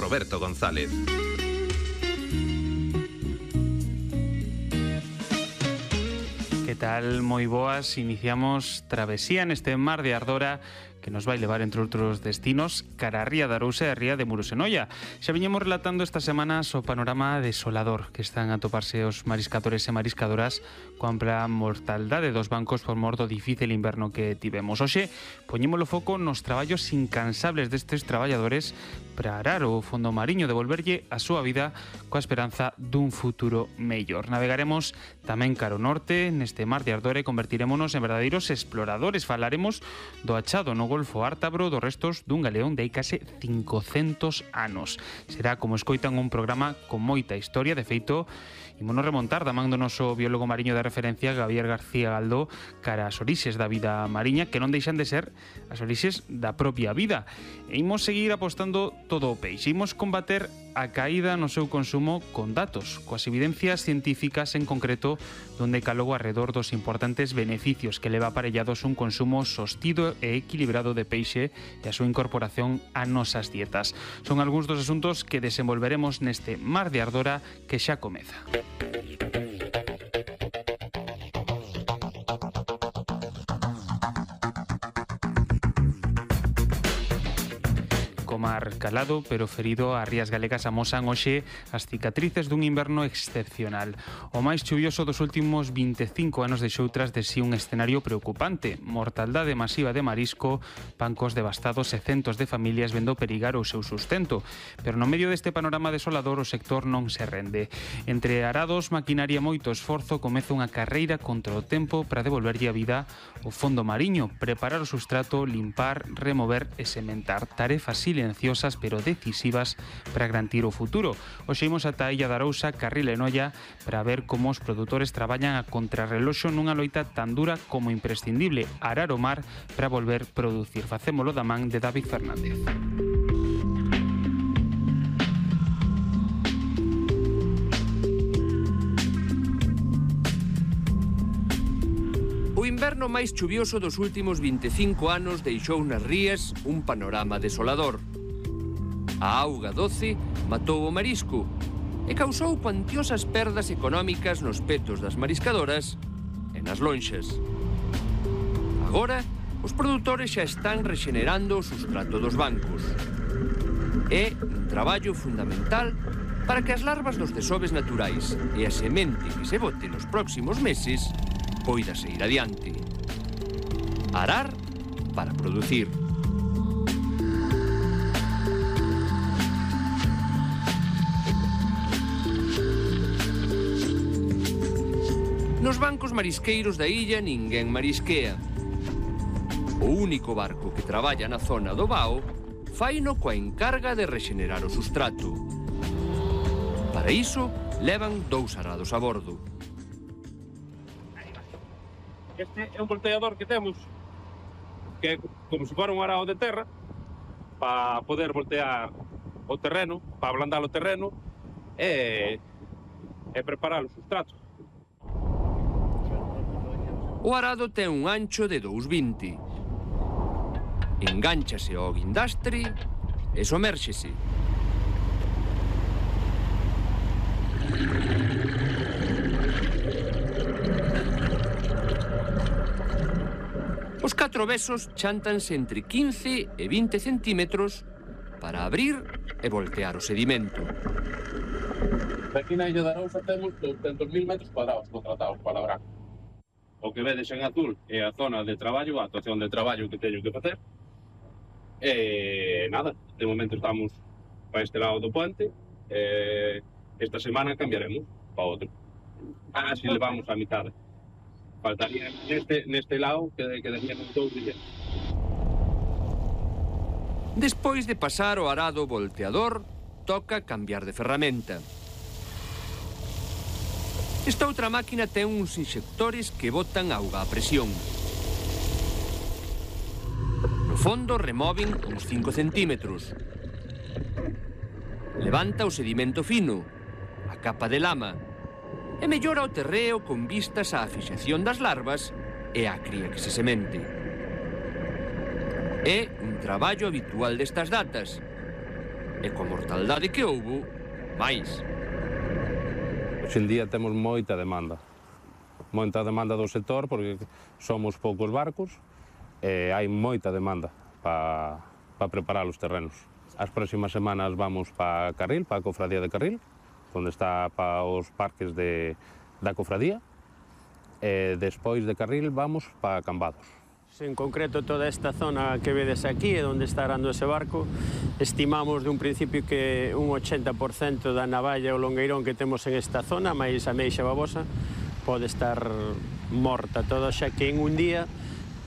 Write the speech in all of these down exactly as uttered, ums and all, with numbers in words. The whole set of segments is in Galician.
Roberto González. Que tal? Moi boas, iniciamos travesía neste mar de ardora que nos vai levar, entre outros destinos, cara a Ría de Arousa e a Ría de Murosenoia. Xa viñemos relatando esta semana o panorama desolador que están a toparse os mariscadores e mariscadoras coa ampla mortaldade dos bancos por mor do difícil inverno que tivemos. Hoxe, poñémolo foco nos traballos incansables destes traballadores para arar o fondo mariño, devolverlle a súa vida coa esperanza dun futuro mellor. Navegaremos tamén cara ao norte, neste mar de ardora, e convertirémonos en verdadeiros exploradores. Falaremos do achado no Golfo Ártabro dos restos dun galeón de hai case cincocentos anos. Será, como escoitan, un programa con moita historia. De feito, ímonos remontar da man do noso biólogo mariño de referencia, Javier García Galdó, cara ás orixes da vida mariña, que non deixan de ser as orixes da propia vida. E imos seguir apostando todo o peixe. Imos combater a caída no seu consumo con datos, coas evidencias científicas, en concreto, donde calogo arredor dos importantes beneficios que leva aparellados un consumo sostido e equilibrado de peixe e a súa incorporación a nosas dietas. Son algúns dos asuntos que desenvolveremos neste mar de ardora que xa comeza. Mar calado, pero ferido, as rías galegas amosan hoxe as cicatrices dun inverno excepcional. O máis chuvioso dos últimos vinte e cinco anos deixou tras de si un escenario preocupante. Mortaldade masiva de marisco, bancos devastados e centos de familias vendo perigar o seu sustento. Pero no medio deste panorama desolador, o sector non se rende. Entre arados, maquinaria e moito esforzo, comeza unha carreira contra o tempo para devolverlle a vida o fondo mariño, preparar o sustrato, limpar, remover e sementar. Tarefas silenciosas pero decisivas para garantir o futuro. Hoxe imos ata a Illa de Arousa, Carril e Noia, para ver como os produtores traballan a contrarreloxo nunha loita tan dura como imprescindible: arar o mar para volver producir. Facémolo da man de David Fernández. O inverno máis chuvioso dos últimos vinte e cinco anos deixou nas rías un panorama desolador. A auga doce matou o marisco e causou cuantiosas perdas económicas nos petos das mariscadoras e nas lonxas. Agora, os produtores xa están rexenerando o sustrato dos bancos. É un traballo fundamental para que as larvas dos desoves naturais e a semente que se bote nos próximos meses poida seguir adiante. Arar para producir. Nos bancos marisqueiros da illa ninguén marisquea. O único barco que traballa na zona do Bao faino coa encarga de rexenerar o sustrato. Para iso, levan dous arados a bordo. Este é un volteador que temos, que é como se fora un arado de terra, para poder voltear o terreno, para ablandar o terreno e, e preparar o sustrato. O arado ten un ancho de dous vinte. Engánchase ao guindastre e somérxese. Os catro besos chántanse entre quince e vinte centímetros para abrir e voltear o sedimento. Aquí na Illa de Arousa temos douscentos mil metros cuadrados contratados para labrar. O que vedes en azul é a zona de traballo, a actuación de traballo que teño que facer. E nada, de momento estamos para este lado do puente. E esta semana cambiaremos para outro. Así levamos a mitad. Faltaría neste, neste lado que quedaríamos dous días. Despois de pasar o arado volteador, toca cambiar de ferramenta. Esta outra máquina ten uns inxectores que botan auga a presión. No fondo removen uns cinco centímetros. Levanta o sedimento fino, a capa de lama, e mellora o terreo con vistas á fixación das larvas e á cría que se semente. É un traballo habitual destas datas, E coa mortaldade que houbo, máis. Hoxe en día temos moita demanda. Moita demanda do sector porque somos poucos barcos e hai moita demanda para pa preparar os terrenos. As próximas semanas vamos para Carril, para a Cofradía de Carril, onde está para os parques de, da Cofradía, e despois de Carril vamos para Cambados. En concreto, toda esta zona que vedes aquí, onde está arando ese barco, estimamos de un principio que un ochenta por cento da navalla ou longueirón que temos en esta zona, máis a meixa babosa, pode estar morta toda, xa que en un día,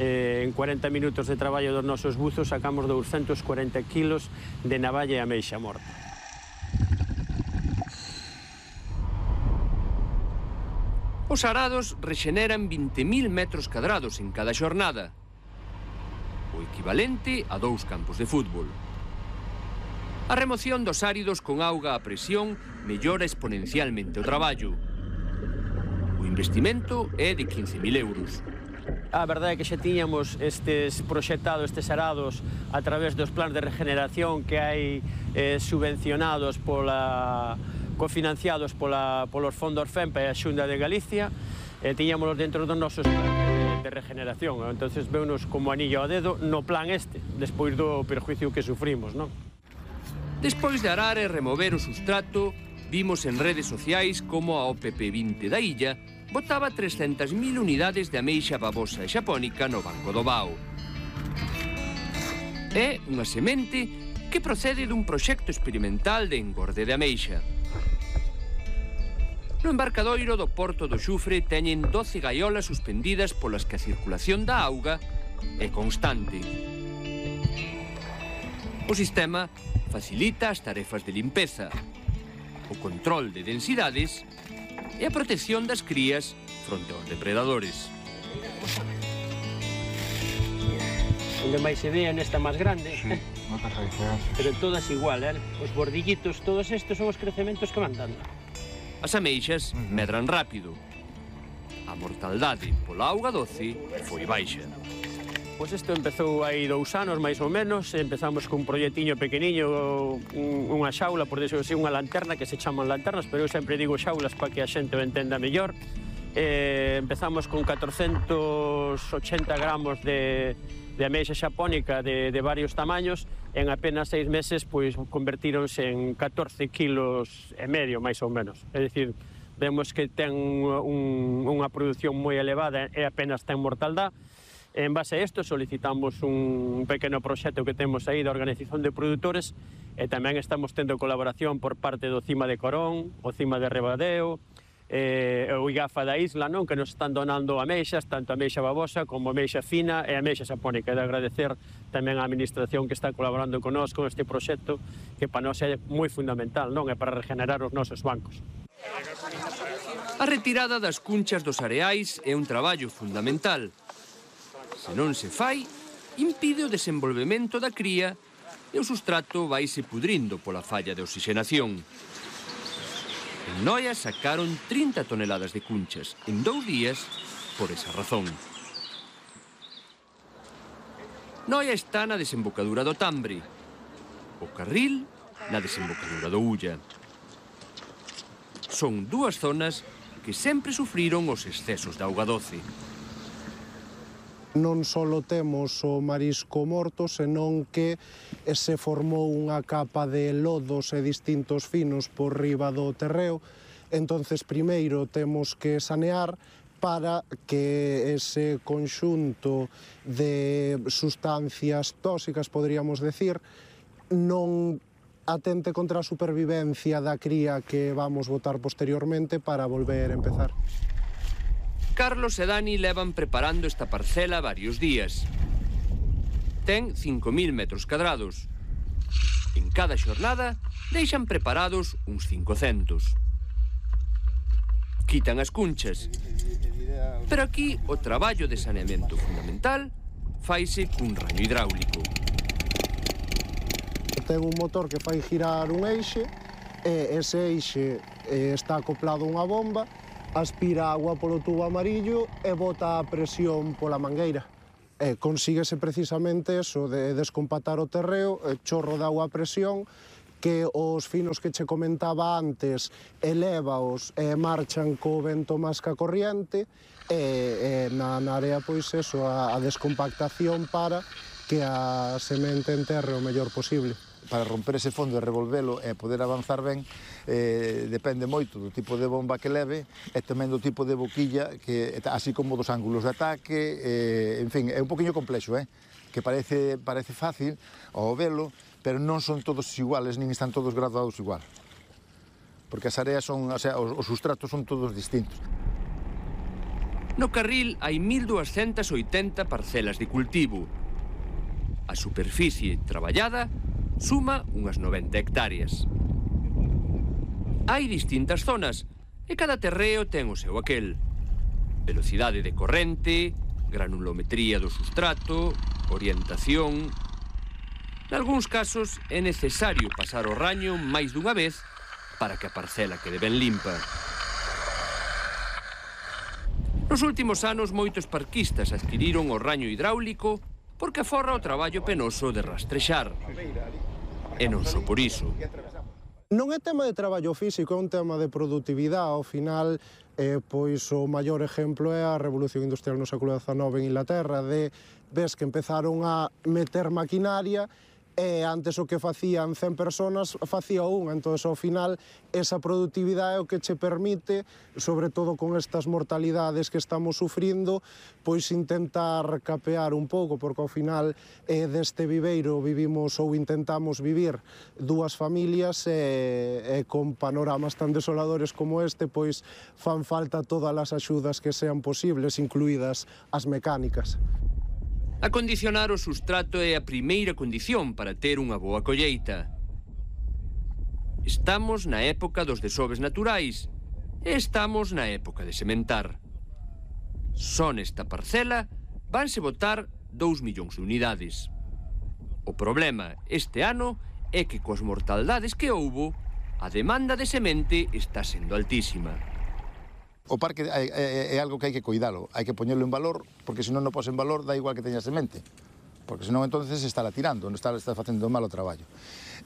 eh, en cuarenta minutos de traballo dos nosos buzos, sacamos doscientos cuarenta kilos de navalla e ameixa morta. Os arados rexeneran vinte mil metros cadrados en cada xornada, o equivalente a dous campos de fútbol. A remoción dos áridos con auga a presión mellora exponencialmente o traballo. O investimento é de quince mil euros. A verdade é que xa tiñamos estes proxectados, estes arados, a través dos plans de regeneración que hai eh, subvencionados pola... cofinanciados pola, polos fondos FEMPA e a Xunta de Galicia, e tiñámonos dentro dos nosos planes de regeneración. Entonces veunos como anillo ao dedo no plan este, despois do perjuicio que sufrimos, non? Despois de arar e remover o sustrato, vimos en redes sociais como a O P P vinte da illa botaba trescentas mil unidades de ameixa babosa e xapónica no Banco do Bao. É unha semente que procede dun proxecto experimental de engorde de ameixa. No embarcadoiro do Porto do Xufre teñen doce gaiolas suspendidas polas que a circulación da auga é constante. O sistema facilita as tarefas de limpeza, o control de densidades e a protección das crías fronte aos depredadores. Onde máis se vea nesta máis grande, sí, moitas raíces. Pero todas igual, eh? Os bordillitos, todos estes son os crecementos que van dando. As ameixas medran rápido. A mortaldade pola auga doce foi baixa. Pois isto empezou hai dous anos, máis ou menos. Empezamos cun proxectiño pequeniño, unha xaula, por decirlo así, unha lanterna, que se chaman lanternas, pero eu sempre digo xaulas para que a xente o entenda mellor. Eh, empezamos con catrocentos ochenta gramos de, de ameixa xapónica de, de varios tamaños. En apenas seis meses, pois, convertíronse en catorce kilos e medio, máis ou menos. É dicir, vemos que ten un, unha produción moi elevada e apenas ten mortaldade. En base a isto, solicitamos un pequeno proxecto que temos aí da Organización de Produtores e tamén estamos tendo colaboración por parte do Cima de Corón, o Cima de Rebadeo, eh, o IGAFA da isla, non? Que nos están donando ameixas, tanto ameixa babosa como ameixa fina e ameixa xapónica. E de agradecer tamén á administración que está colaborando con nós con este proxecto, que para nós é moi fundamental, non? É para regenerar os nosos bancos. A retirada das cunchas dos areais é un traballo fundamental. Se non se fai, impide o desenvolvemento da cría e o sustrato vaise pudrindo pola falla de oxigenación. En Noia sacaron trinta toneladas de cunchas en dous días por esa razón. Noia está na desembocadura do Tambre, o Carril na desembocadura do Ulla. Son dúas zonas que sempre sufriron os excesos de auga doce. Non só temos o marisco morto, senón que se formou unha capa de lodos e distintos finos por riba do terreo. Entonces, primeiro temos que sanear para que ese conxunto de sustancias tóxicas, poderíamos decir, non atente contra a supervivencia da cría que vamos botar posteriormente para volver a empezar. Carlos e Dani levan preparando esta parcela varios días. Ten cinco mil metros cadrados. En cada xornada deixan preparados uns cincocentos. Quitan as cunchas. Pero aquí o traballo de saneamento fundamental faise cun raño hidráulico. Ten un motor que fai girar un eixe e ese eixe está acoplado a unha bomba, aspira agua polo tubo amarillo e bota a presión pola mangueira. E consíguese precisamente eso, de descompatar o terreo, chorro de agua a presión, que os finos que che comentaba antes elévaos e marchan co vento máis ca corriente, e, e na, na área, pois, eso, a, a descompactación para que a semente enterre o mellor posible. Para romper ese fondo e revolvelo e poder avanzar ben, eh, depende moito do tipo de bomba que leve e tamén do tipo de boquilla, que, así como dos ángulos de ataque, eh, en fin, é un poquinho complexo, eh? Que parece, parece fácil ao velo, pero non son todos iguales, nin están todos graduados igual. Porque as áreas son, o sea, os, os sustratos son todos distintos. No carril hai mil duascentas oitenta parcelas de cultivo. A superficie traballada suma unhas noventa hectáreas. Hai distintas zonas e cada terreo ten o seu aquel. Velocidade de corrente, granulometría do sustrato, orientación... Nalgúns casos é necesario pasar o raño máis dunha vez para que a parcela quede ben limpa. Nos últimos anos moitos parquistas adquiriron o raño hidráulico porque aforra o traballo penoso de rastrexar. E non só por iso. Non é tema de traballo físico, é un tema de produtividade. Ao final, eh, pois o maior exemplo é a Revolución Industrial no século dezanove en Inglaterra, de ves que empezaron a meter maquinaria e antes o que facían cen personas facía unha, entón ao final esa produtividade é o que che permite, sobre todo con estas mortalidades que estamos sufrindo, pois intentar capear un pouco, porque ao final eh, deste viveiro vivimos ou intentamos vivir dúas familias e, e con panoramas tan desoladores como este, pois fan falta todas as axudas que sean posibles, incluídas as mecánicas. Acondicionar o sustrato é a primeira condición para ter unha boa colleita. Estamos na época dos desoves naturais e estamos na época de sementar. Só nesta parcela vanse botar dous millóns de unidades. O problema este ano é que coas mortaldades que houbo, a demanda de semente está sendo altísima. O parque é, é, é algo que hai que cuidalo, hai que poñerlo en valor, porque se non non pos en valor dá igual que teña semente, porque senón entonces está la tirando, non está, está facendo mal o traballo.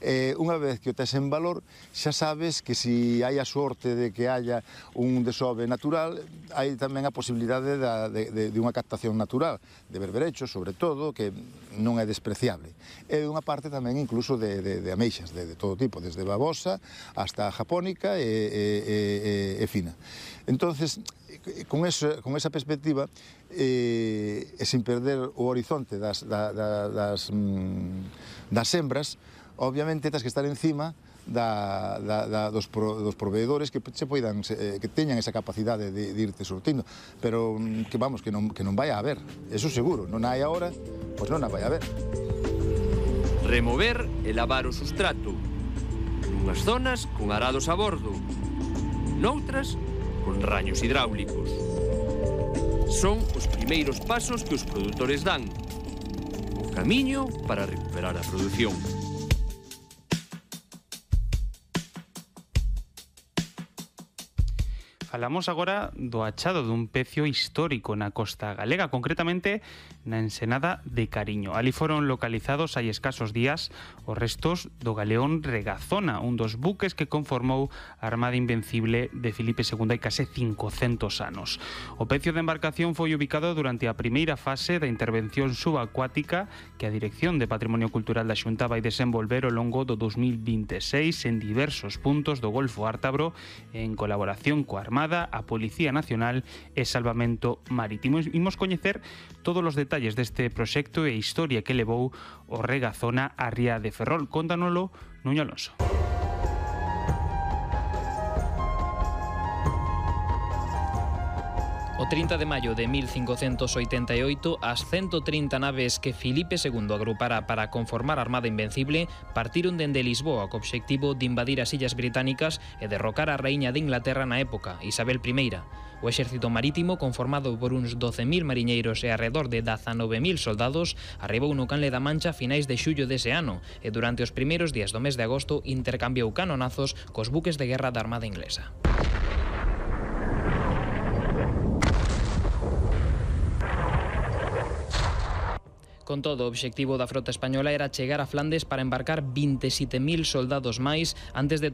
Eh, unha vez que o tes en valor, xa sabes que se hai a sorte de que haya un desove natural, hai tamén a posibilidade da, de, de, de unha captación natural, de berberechos, sobre todo, que non é despreciable. E unha parte tamén incluso de, de, de ameixas, de, de todo tipo, desde babosa hasta japónica e, e, e, e fina. Entonces, con, eso, con esa perspectiva, eh, e sin perder o horizonte das, da, da, das, mm, das sembras, obviamente tens que estar encima da, da, da, dos, pro, dos proveedores que se poidan, eh, que teñan esa capacidade de, de irte surtindo, pero que vamos, que non, que non vai a haber, eso seguro, non hai agora, pois non a vai a haber. Remover e lavar o sustrato, nunhas zonas con arados a bordo, noutras con raños hidráulicos. Son os primeiros pasos que os produtores dan, o camiño para recuperar a produción. Falamos agora do achado dun pecio histórico na costa galega, concretamente na ensenada de Cariño. Ali foron localizados hai escasos días os restos do galeón Regazona, un dos buques que conformou a Armada Invencible de Filipe segundo hai case cincocentos anos. O pecio de embarcación foi ubicado durante a primeira fase da intervención subacuática que a Dirección de Patrimonio Cultural da Xunta vai desenvolver ao longo do dos mil vinte e seis en diversos puntos do Golfo Ártabro en colaboración coa Armada, a Policía Nacional e Salvamento Marítimo. Imos coñecer todos os detalles deste proxecto e a historia que levou o Regazona á ría de Ferrol. Cóntanolo Nuño Alonso. O trinta de maio de mil cincocentos oitenta e oito, as ciento trinta naves que Filipe segundo agrupara para conformar a Armada Invencible partiron dende Lisboa co obxectivo de invadir as Illas Británicas e derrocar a raíña de Inglaterra na época, Isabel I. O exército marítimo, conformado por uns doce mil mariñeiros e arredor de dezanove mil soldados, arribou no Canle da Mancha a finais de xullo dese ano e durante os primeiros días do mes de agosto intercambiou canonazos cos buques de guerra da Armada Inglesa. Con todo, o obxectivo da frota española era chegar a Flandes para embarcar veintisiete mil soldados máis antes de tomar